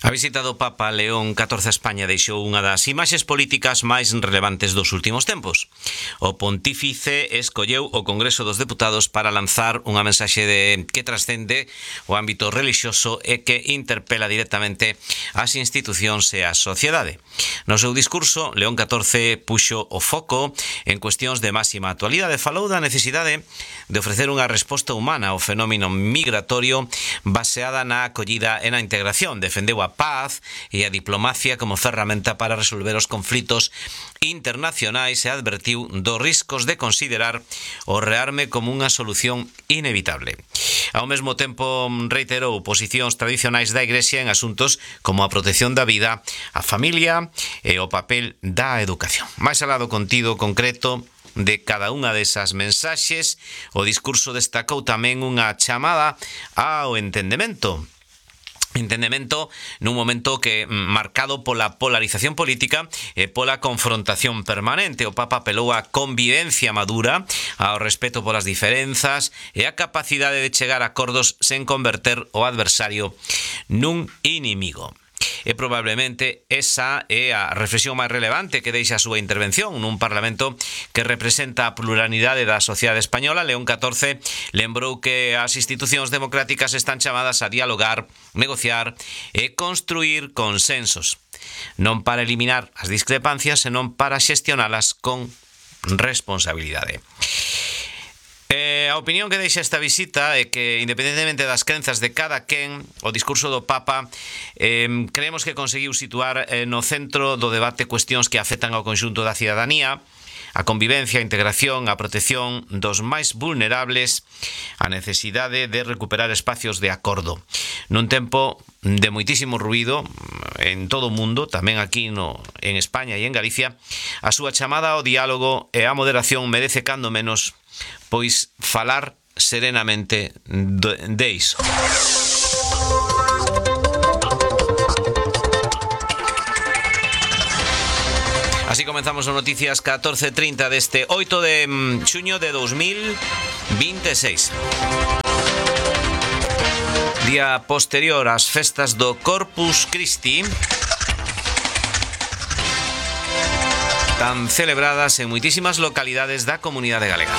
A visita do Papa León XIV a España deixou unha das imaxes políticas máis relevantes dos últimos tempos. O pontífice escolleu o Congreso dos Deputados para lanzar unha mensaxe que trascende o ámbito relixioso e que interpela directamente as institucións e a sociedade. No seu discurso, León XIV puxo o foco en cuestións de máxima actualidade. Falou da necesidade de ofrecer unha resposta humana ao fenómeno migratorio baseada na acollida e na integración. Defendeu a paz e a diplomacia como ferramenta para resolver os conflitos internacionais e advertiu dos riscos de considerar o rearme como unha solución inevitable. Ao mesmo tempo, reiterou posicións tradicionais da Igrexa en asuntos como a protección da vida, a familia e o papel da educación. Mais alá do contido concreto de cada unha desas mensaxes, o discurso destacou tamén unha chamada ao entendemento nun momento que marcado pola polarización política e pola confrontación permanente. O Papa apelou á convivencia madura, ao respeto polas diferenzas e á capacidade de chegar a acordos sen converter o adversario nun inimigo. E probablemente esa é a reflexión máis relevante que deixa a súa intervención nun Parlamento que representa a pluralidade da sociedade española. León XIV lembrou que as institucións democráticas están chamadas a dialogar, negociar e construir consensos, non para eliminar as discrepancias, senón para xestionalas con responsabilidade. A opinión que deixa esta visita é que, independentemente das crenzas de cada quen, o discurso do Papa creemos que conseguiu situar no centro do debate cuestións que afectan ao conxunto da cidadanía, a convivencia, a integración, a protección dos máis vulnerables, a necesidade de recuperar espacios de acordo. Nun tempo de moitísimo ruído en todo o mundo, tamén aquí en España e en Galicia, a súa chamada ao diálogo e á moderación merece cando menos pois falar serenamente de iso. Así comenzamos as noticias 14:30 deste 8 de xuño de 2026. Día posterior ás festas do Corpus Christi, tan celebradas en moitísimas localidades da comunidade galega.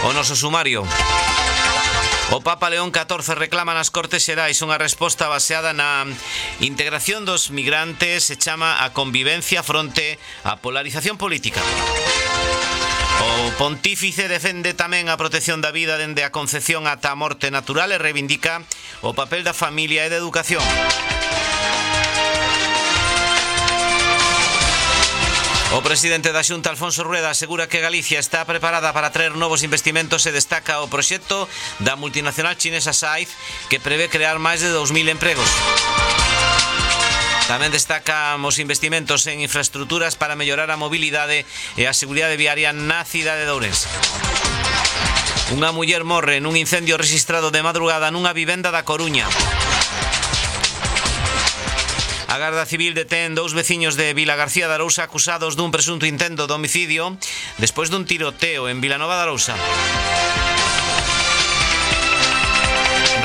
O noso sumario. O Papa León XIV reclama nas Cortes Xerais unha resposta baseada na integración dos migrantes e chama a convivencia fronte á polarización política. O pontífice defende tamén a protección da vida dende a concepción ata a morte natural e reivindica o papel da familia e da educación. O presidente da Xunta, Alfonso Rueda, asegura que Galicia está preparada para traer novos investimentos e destaca o proxecto da multinacional chinesa Saiz, que prevé crear máis de 2.000 empregos. Tamén destaca os investimentos en infraestructuras para mellorar a mobilidade e a seguridade viaria na cidade de Ourense. Unha muller morre nun incendio rexistrado de madrugada nunha vivenda da Coruña. A Garda Civil detén dous veciños de Vilagarcía de Arousa acusados dun presunto intento de homicidio despois dun tiroteo en Vilanova de Arousa.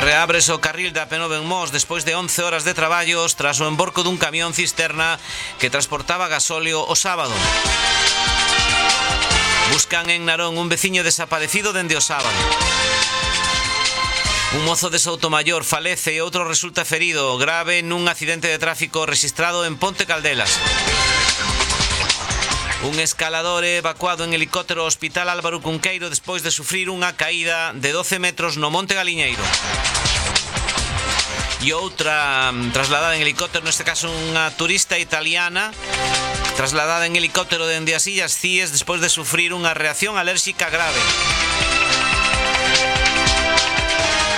Reábrese o carril da P9 en Mos despois de 11 horas de traballos tras o emborco dun camión cisterna que transportaba gasóleo o sábado. Buscan en Narón un veciño desaparecido dende o sábado. Un mozo de Soutomaior falece e outro resulta ferido grave nun accidente de tráfico rexistrado en Ponte Caldelas. Un escalador é evacuado en helicóptero ao Hospital Álvaro Cunqueiro despois de sufrir unha caída de 12 metros no Monte Galiñeiro. E outra trasladada en helicóptero, neste caso unha turista italiana, trasladada en helicóptero dende as Illas Cíes despois de sufrir unha reacción alérxica grave.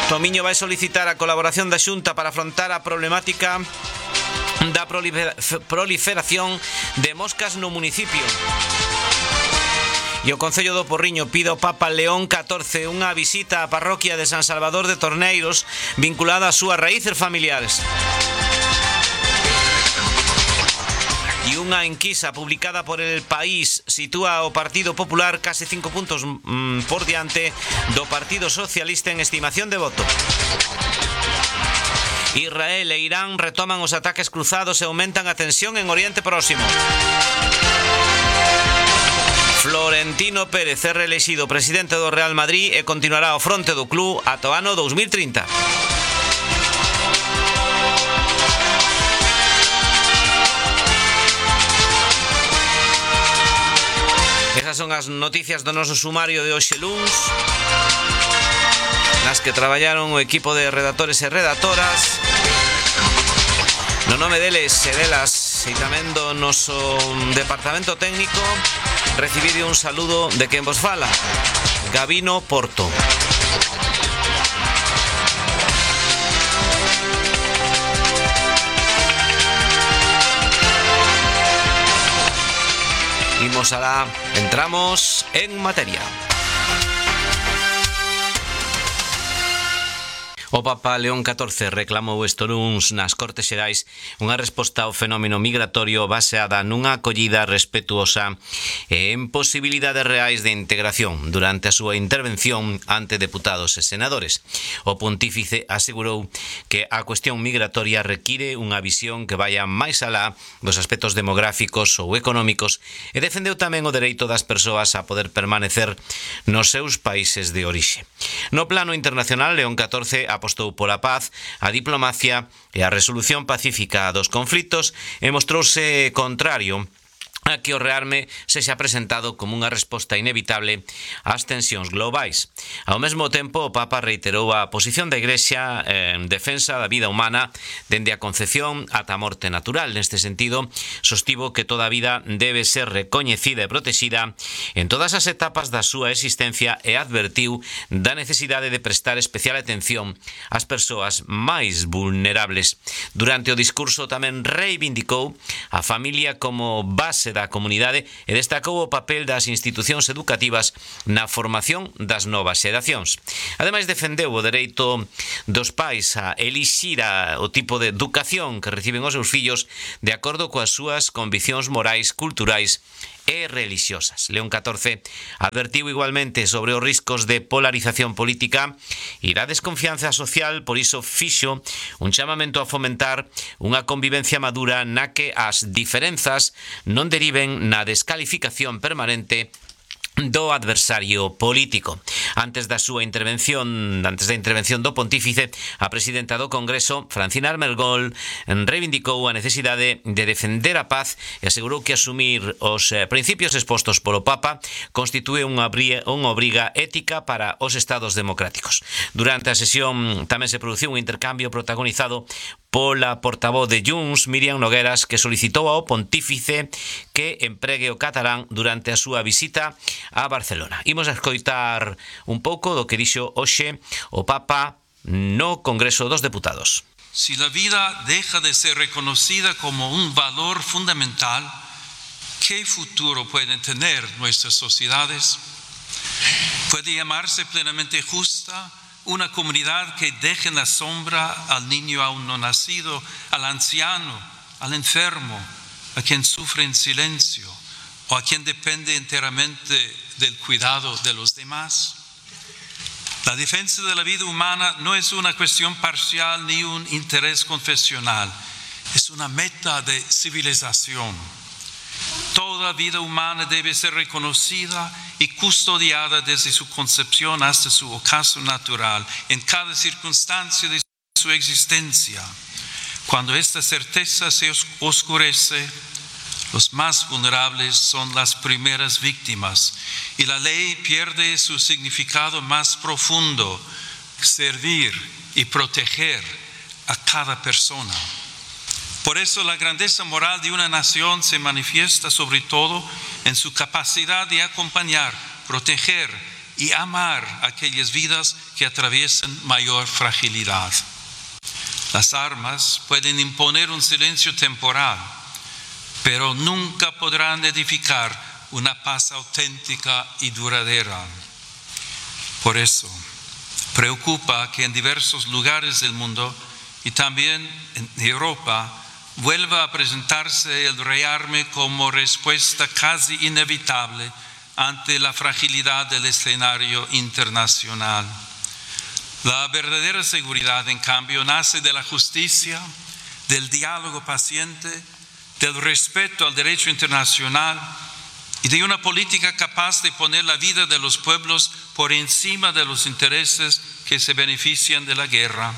Tomiño vai solicitar a colaboración da Xunta para afrontar a problemática da proliferación de moscas no municipio. E o Concello do Porriño pide ao Papa León XIV unha visita á parroquia de San Salvador de Torneiros vinculada ás súas raíces familiares. E E unha enquisa publicada por El País sitúa o Partido Popular case 5 puntos por diante do Partido Socialista en estimación de voto. Israel e Irán retoman os ataques cruzados e aumentan a tensión en Oriente Próximo. Florentino Pérez é reelexido presidente do Real Madrid e continuará ao fronte do club ata o ano 2030. Esas son as noticias do noso sumario de hoxe luns, nas que traballaron o equipo de redactores e redactoras. No nome deles e delas e tamén do noso departamento técnico, recibide un saludo de quen vos fala, Gabino Porto. Imos alá, entramos en materia. O Papa León XIV reclamou este luns nas Cortes Xerais unha resposta ao fenómeno migratorio baseada nunha acollida respetuosa e en posibilidades reais de integración durante a súa intervención ante deputados e senadores. O pontífice asegurou que a cuestión migratoria require unha visión que vaya máis alá dos aspectos demográficos ou económicos e defendeu tamén o dereito das persoas a poder permanecer nos seus países de orixe. No plano internacional, León XIV apostou pola paz, a diplomacia e a resolución pacífica dos conflitos e mostrouse contrario a que o rearme sexa presentado como unha resposta inevitable ás tensións globais. Ao mesmo tempo, o Papa reiterou a posición da Igrexa en defensa da vida humana dende a concepción ata a morte natural. Neste sentido, sostivo que toda a vida debe ser recoñecida e protexida en todas as etapas da súa existencia e advertiu da necesidade de prestar especial atención ás persoas máis vulnerables. Durante o discurso tamén reivindicou a familia como base da comunidade e destacou o papel das institucións educativas na formación das novas xeracións. Ademais, defendeu o dereito dos pais a elixir o tipo de educación que reciben os seus fillos de acordo coas súas conviccións morais, culturais e religiosas. León XIV advertiu igualmente sobre os riscos de polarización política e da desconfianza social, por iso fixo un chamamento a fomentar unha convivencia madura na que as diferenzas non deriven na descalificación permanente do adversario político. Antes da intervención do pontífice, a presidenta do Congreso, Francina Armengol, reivindicou a necesidade de defender a paz e asegurou que asumir os principios expostos polo Papa constitúe unha obriga ética para os estados democráticos. Durante a sesión tamén se produciu un intercambio protagonizado pola portavoz de Junts, Míriam Nogueras, que solicitou ao pontífice que empregue o catalán durante a súa visita a Barcelona. Imos a escoitar un pouco do que dixo hoxe o Papa no Congreso dos Deputados. Si la vida deja de ser reconocida como un valor fundamental, ¿qué futuro pueden tener nuestras sociedades? ¿Puede llamarse plenamente justa una comunidad que deje en la sombra al niño aún no nacido, al anciano, al enfermo, a quien sufre en silencio o a quien depende enteramente del cuidado de los demás? La defensa de la vida humana no es una cuestión parcial ni un interés confesional, es una meta de civilización. Toda vida humana debe ser reconocida y custodiada desde su concepción hasta su ocaso natural, en cada circunstancia de su existencia. Cuando esta certeza se oscurece, los más vulnerables son las primeras víctimas y la ley pierde su significado más profundo, servir y proteger a cada persona. Por eso la grandeza moral de una nación se manifiesta sobre todo en su capacidad de acompañar, proteger y amar aquellas vidas que atraviesan mayor fragilidad. Las armas pueden imponer un silencio temporal, pero nunca podrán edificar una paz auténtica y duradera. Por eso, preocupa que en diversos lugares del mundo y también en Europa vuelva a presentarse el rearme como respuesta casi inevitable ante la fragilidad del escenario internacional. La verdadera seguridad, en cambio, nace de la justicia, del diálogo paciente, del respeto al derecho internacional y de una política capaz de poner la vida de los pueblos por encima de los intereses que se benefician de la guerra.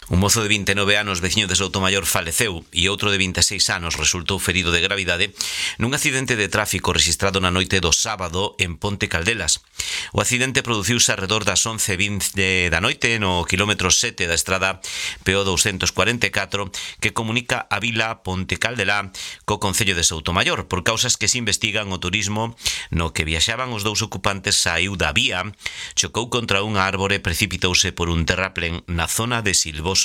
Un mozo de 29 anos, veciño de Soutomayor, faleceu e outro de 26 anos resultou ferido de gravidade nun accidente de tráfico registrado na noite do sábado en Ponte Caldelas. O accidente produciuse arredor das 11:20 da noite no quilómetro 7 da estrada PO 244 que comunica a vila Ponte Caldelá co concello de Soutomayor. Por causas que se investigan, o turismo no que viaxaban os dous ocupantes saiu da vía, chocou contra unha árbore e precipitouse por un terraplén na zona de Silvoso.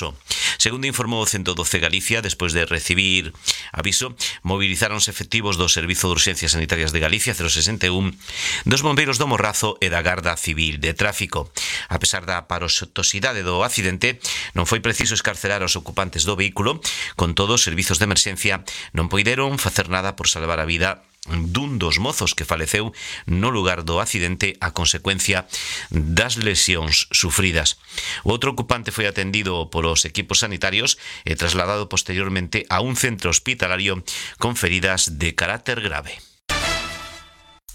Segundo informou o 112 Galicia, despois de recibir aviso, movilizáronse efectivos do Servizo de Urxencias Sanitarias de Galicia 061, dos bombeiros do Morrazo e da Garda Civil de Tráfico. A pesar da aparatosidade do accidente, non foi preciso escarcerar aos ocupantes do vehículo. Con todo, os servizos de emerxencia non poideron facer nada por salvar a vida dun dos mozos que faleceu no lugar do accidente a consecuencia das lesións sufridas. O outro ocupante foi atendido polos equipos sanitarios e trasladado posteriormente a un centro hospitalario con feridas de carácter grave.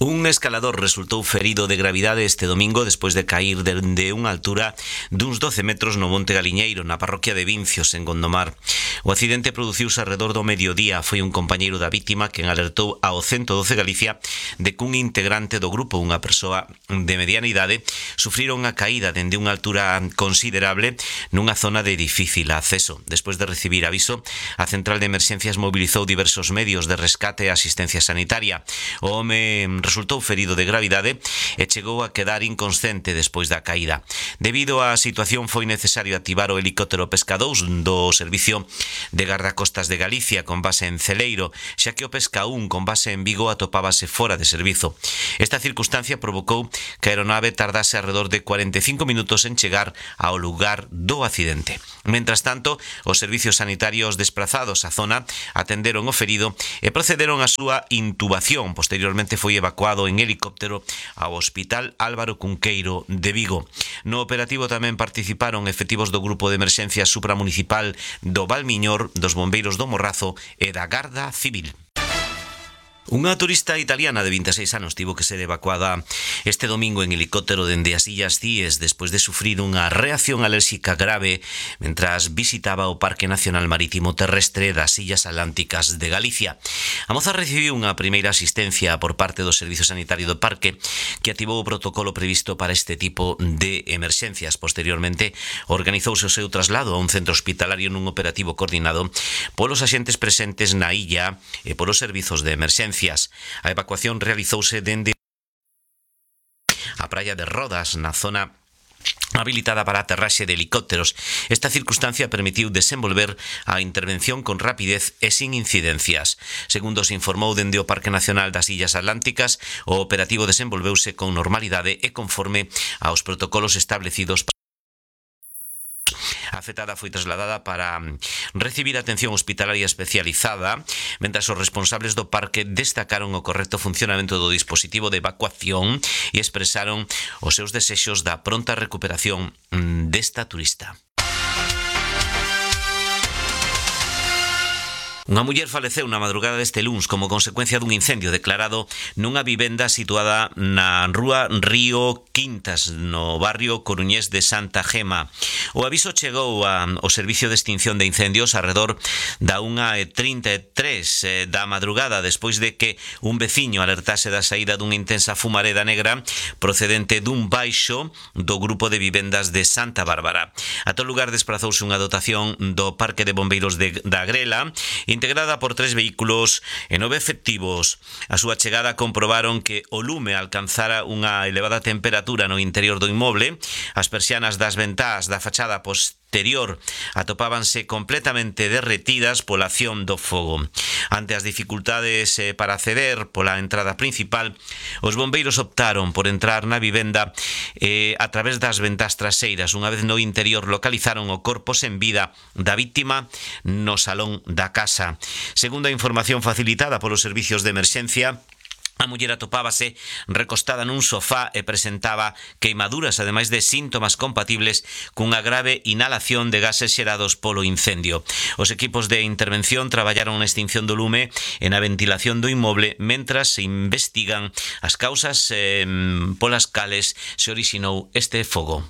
Un escalador resultou ferido de gravidade este domingo despois de cair dende unha altura duns 12 metros no Monte Galiñeiro, na parroquia de Vincios, en Gondomar. O accidente produciuse alrededor do mediodía. Foi un compañeiro da vítima quen alertou ao 112 Galicia de que un integrante do grupo, unha persoa de mediana idade, sufriron a caída dende unha altura considerable nunha zona de difícil acceso. Despois de recibir aviso, a central de emerxencias mobilizou diversos medios de rescate e asistencia sanitaria. O home resultou ferido de gravidade e chegou a quedar inconsciente despois da caída. Debido á situación foi necesario activar o helicóptero Pesca 2 do Servicio de Gardacostas de Galicia con base en Celeiro, xa que o Pesca 1 con base en Vigo atopábase fora de servizo. Esta circunstancia provocou que a aeronave tardase alrededor de 45 minutos en chegar ao lugar do accidente. Mentras tanto, os servicios sanitarios desprazados á zona atenderon o ferido e procederon á súa intubación. Posteriormente foi evacuado en helicóptero ao Hospital Álvaro Cunqueiro de Vigo. No operativo tamén participaron efectivos do Grupo de Emerxencia Supramunicipal do Valmiñor, dos Bombeiros do Morrazo e da Garda Civil. Unha turista italiana de 26 anos tivo que ser evacuada este domingo en helicóptero dende as Illas Cíes despois de sufrir unha reacción alérxica grave mentras visitaba o Parque Nacional Marítimo Terrestre das Illas Atlánticas de Galicia. A moza recibiu unha primeira asistencia por parte do Servizo Sanitario do Parque, que activou o protocolo previsto para este tipo de emerxencias. Posteriormente, organizouse o seu traslado a un centro hospitalario nun operativo coordinado polos axentes presentes na illa e polos servizos de emerxencia. A evacuación realizouse dende a praia de Rodas, na zona habilitada para a aterraxe de helicópteros. Esta circunstancia permitiu desenvolver a intervención con rapidez e sin incidencias. Segundo se informou dende o Parque Nacional das Illas Atlánticas, o operativo desenvolveuse con normalidade e conforme aos protocolos establecidos. A afectada foi trasladada para recibir atención hospitalaria especializada, mentras os responsables do parque destacaron o correcto funcionamento do dispositivo de evacuación e expresaron os seus desexos da pronta recuperación desta turista. Unha muller faleceu na madrugada deste luns como consecuencia dun incendio declarado nunha vivenda situada na rúa Río Quintas, no barrio coruñés de Santa Gema. O aviso chegou ao Servicio de Extinción de Incendios alrededor da 1:33 da madrugada, despois de que un veciño alertase da saída dunha intensa fumareda negra procedente dun baixo do grupo de vivendas de Santa Bárbara. A tal lugar desprazouse unha dotación do Parque de Bombeiros da Grela, integrada por 3 vehículos e 9 efectivos. A súa chegada comprobaron que o lume alcanzara unha elevada temperatura no interior do inmoble. As persianas das ventás da fachada exterior atopábanse completamente derretidas pola acción do fogo. Ante as dificultades para acceder pola entrada principal, os bombeiros optaron por entrar na vivenda a través das ventás traseiras. Unha vez no interior localizaron o corpo sen vida da víctima no salón da casa. Segundo a información facilitada polos servicios de emerxencia, a muller atopábase recostada nun sofá e presentaba queimaduras, ademais de síntomas compatibles cunha grave inhalación de gases xerados polo incendio. Os equipos de intervención traballaron na extinción do lume e na ventilación do inmoble mentras se investigan as causas polas cales se orixinou este fogo.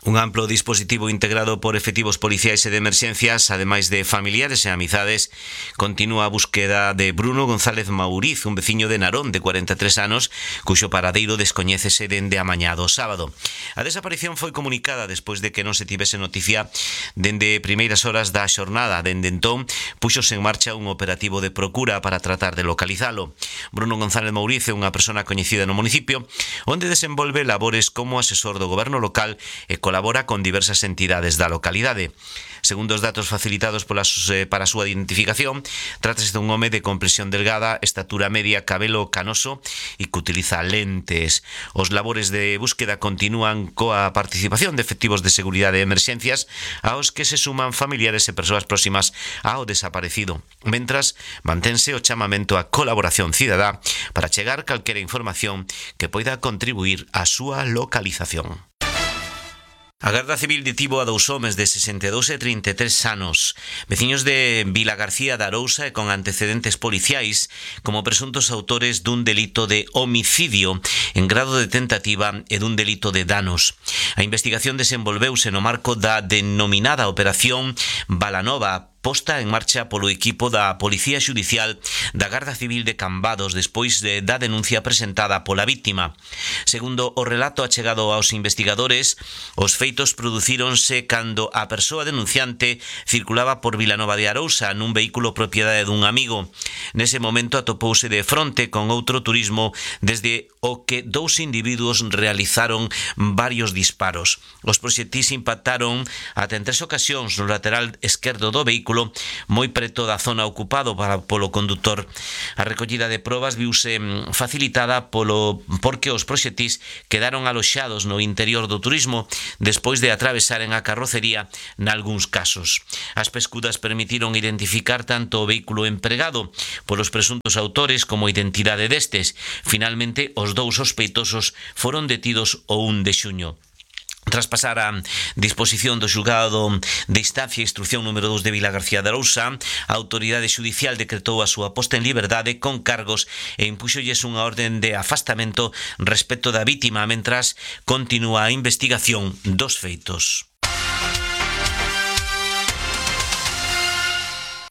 Un amplo dispositivo integrado por efectivos policiais e de emerxencias, ademais de familiares e amizades, continúa a búsqueda de Bruno González Mauriz, un veciño de Narón de 43 anos, cuxo paradeiro descoñécese dende a mañá do sábado. A desaparición foi comunicada despois de que non se tivese noticia dende primeiras horas da xornada. Dende entón, puxose en marcha un operativo de procura para tratar de localizalo. Bruno González Mauriz é unha persona coñecida no municipio, onde desenvolve labores como asesor do goberno local e colabora con diversas entidades da localidade. Segundo os datos facilitados para a súa identificación, trátase dun home de complexión delgada, estatura media, cabelo canoso e que utiliza lentes. Os labores de búsqueda continúan coa participación de efectivos de seguridade e emerxencias, aos que se suman familiares e persoas próximas ao desaparecido. Mentras, mantense o chamamento á colaboración cidadá para chegar calquera información que poida contribuir á súa localización. A Garda Civil detivo a dous homes de 62 e 33 anos, veciños de Vilagarcía de Arousa e con antecedentes policiais, como presuntos autores dun delito de homicidio en grado de tentativa e dun delito de danos. A investigación desenvolveuse no marco da denominada Operación Balanova, posta en marcha polo equipo da Policía Xudicial da Garda Civil de Cambados despois da denuncia presentada pola víctima. Segundo o relato achegado aos investigadores, os feitos producíronse cando a persoa denunciante circulaba por Vilanova de Arousa nun vehículo propiedade dun amigo. Nese momento atopouse de fronte con outro turismo desde o que dous individuos realizaron varios disparos. Os proxectís impactaron ata en 3 ocasións no lateral esquerdo do vehículo, moi preto da zona ocupado polo condutor. A recollida de probas viuse facilitada porque os proxectís quedaron aloxados no interior do turismo despois de atravesaren a carrocería nalgúns casos. As pescudas permitiron identificar tanto o vehículo empregado polos presuntos autores como a identidade destes. Finalmente, os dous sospeitosos foron detidos o 1 de xuño. Tras pasar a disposición do xulgado de instancia e instrucción número 2 de Vilagarcía de Arousa, a autoridade xudicial decretou a súa posta en liberdade con cargos e impúxolles unha orden de afastamento respecto da vítima mentras continúa a investigación dos feitos.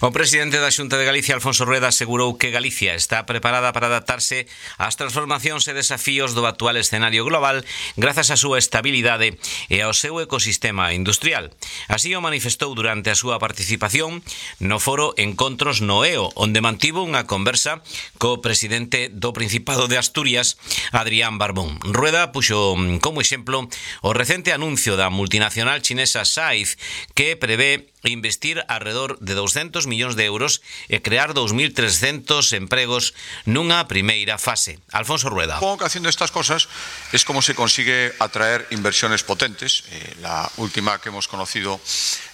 O presidente da Xunta de Galicia, Alfonso Rueda, asegurou que Galicia está preparada para adaptarse ás transformacións e desafíos do actual escenario global grazas á súa estabilidade e ao seu ecosistema industrial. Así o manifestou durante a súa participación no foro Encontros no EO, onde mantivo unha conversa co presidente do Principado de Asturias, Adrián Barbón. Rueda puxo como exemplo o recente anuncio da multinacional chinesa SAIZ, que prevé investir alrededor de 200 millóns de euros e crear 2.300 empregos nunha primeira fase. Alfonso Rueda. Supongo que haciendo estas cosas es como se consigue atraer inversiones potentes. La última que hemos conocido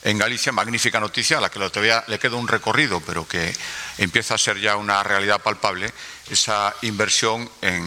en Galicia, magnífica noticia, a la que todavía le queda un recorrido, pero que empieza a ser ya una realidad palpable, esa inversión en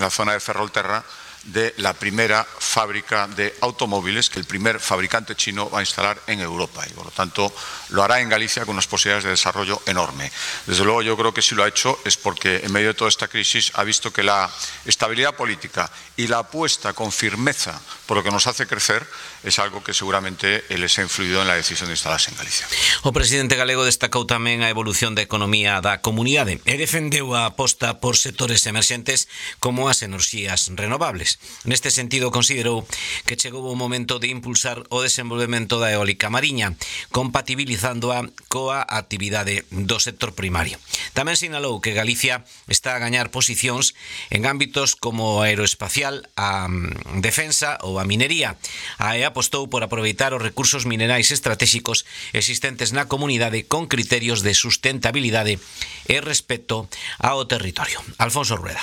la zona de Ferrolterra de la primera fábrica de automóviles que el primer fabricante chino va a instalar en Europa y por lo tanto lo hará en Galicia con unas posibilidades de desarrollo enorme. Desde luego yo creo que si lo ha hecho es porque en medio de toda esta crisis ha visto que la estabilidad política y la apuesta con firmeza por lo que nos hace crecer es algo que seguramente les ha influido en la decisión de instalarse en Galicia. O presidente galego destacou tamén a evolución da economía da comunidade e defendeu a aposta por sectores emerxentes como as enerxías renovables. renovables. Neste sentido, considerou que chegou o momento de impulsar o desenvolvemento da eólica mariña, compatibilizándoa coa actividade do sector primario. Tamén sinalou que Galicia está a gañar posicións en ámbitos como a aeroespacial, a defensa ou a minería. A AE apostou por aproveitar os recursos minerais estratégicos existentes na comunidade con criterios de sustentabilidade e respeto ao territorio. Alfonso Rueda.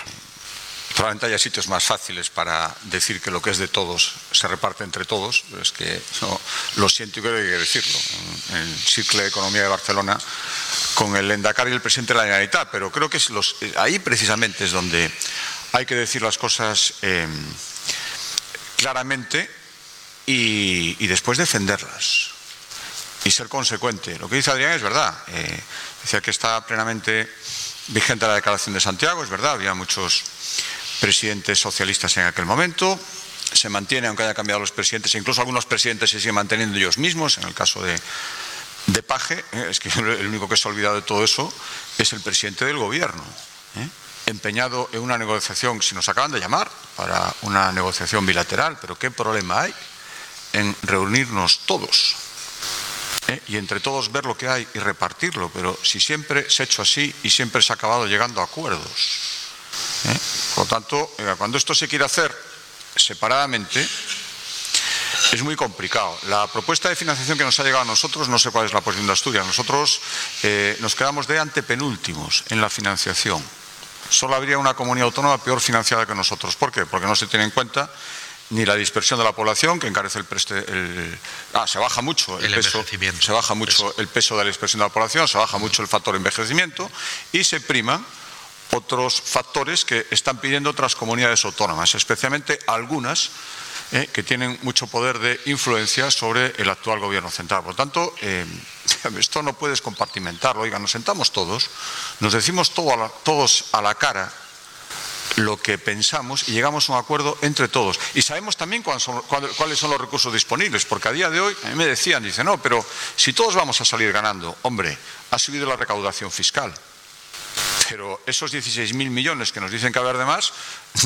Probablemente haya sitios más fáciles para decir que lo que es de todos se reparte entre todos, pero es que no, lo siento y creo que hay que decirlo. En el Círculo de Economía de Barcelona, con el Endacari y el presidente de la Generalitat, pero creo que ahí precisamente es donde hay que decir las cosas claramente y después defenderlas y ser consecuente. Lo que dice Adrián es verdad. Decía que está plenamente vigente la Declaración de Santiago, es verdad, había muchos presidentes socialistas en aquel momento, se mantiene aunque haya cambiado los presidentes, e incluso algunos presidentes se siguen manteniendo ellos mismos, en el caso de Paje, es que el único que se ha olvidado de todo eso es el presidente del gobierno, empeñado en una negociación, si nos acaban de llamar para una negociación bilateral, pero ¿qué problema hay en reunirnos todos? Y entre todos ver lo que hay y repartirlo, pero si siempre se ha hecho así y siempre se ha acabado llegando a acuerdos. Por lo tanto, cuando esto se quiere hacer separadamente, es muy complicado. La propuesta de financiación que nos ha llegado a nosotros, no sé cuál es la posición de Asturias, nosotros nos quedamos de antepenúltimos en la financiación. Solo habría una comunidad autónoma peor financiada que nosotros. ¿Por qué? Porque no se tiene en cuenta ni la dispersión de la población, que encarece se baja mucho el peso, se baja mucho el peso de la dispersión de la población, se baja mucho el factor envejecimiento y se priman otros factores que están pidiendo otras comunidades autónomas, especialmente algunas que tienen mucho poder de influencia sobre el actual gobierno central. Por lo tanto, esto no puedes compartimentarlo. Oiga, nos sentamos todos, nos decimos todos a la cara lo que pensamos y llegamos a un acuerdo entre todos. Y sabemos también cuáles son los recursos disponibles, porque a día de hoy, a mí me decían, dicen, no, pero si todos vamos a salir ganando, hombre, ha subido la recaudación fiscal. Pero esos 16.000 millones que nos dicen que haber de más,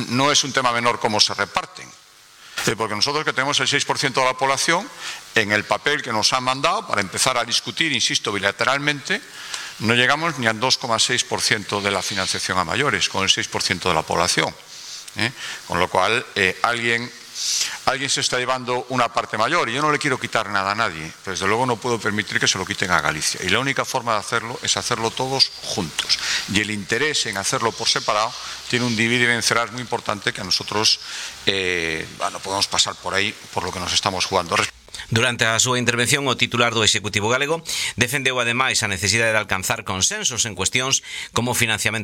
no es un tema menor cómo se reparten. Porque nosotros que tenemos el 6% de la población, en el papel que nos han mandado, para empezar a discutir, insisto, bilateralmente, no llegamos ni al 2,6% de la financiación a mayores, con el 6% de la población. Con lo cual, alguien se está llevando una parte mayor y yo no le quiero quitar nada a nadie, pero desde luego no puedo permitir que se lo quiten a Galicia. Y la única forma de hacerlo es hacerlo todos juntos. Y el interés en hacerlo por separado tiene un divide y vencerás muy importante que a nosotros no podemos pasar por ahí por lo que nos estamos jugando. Durante a súa intervención, o titular do Executivo galego defendeu ademais a necesidade de alcanzar consensos en cuestións como financiamento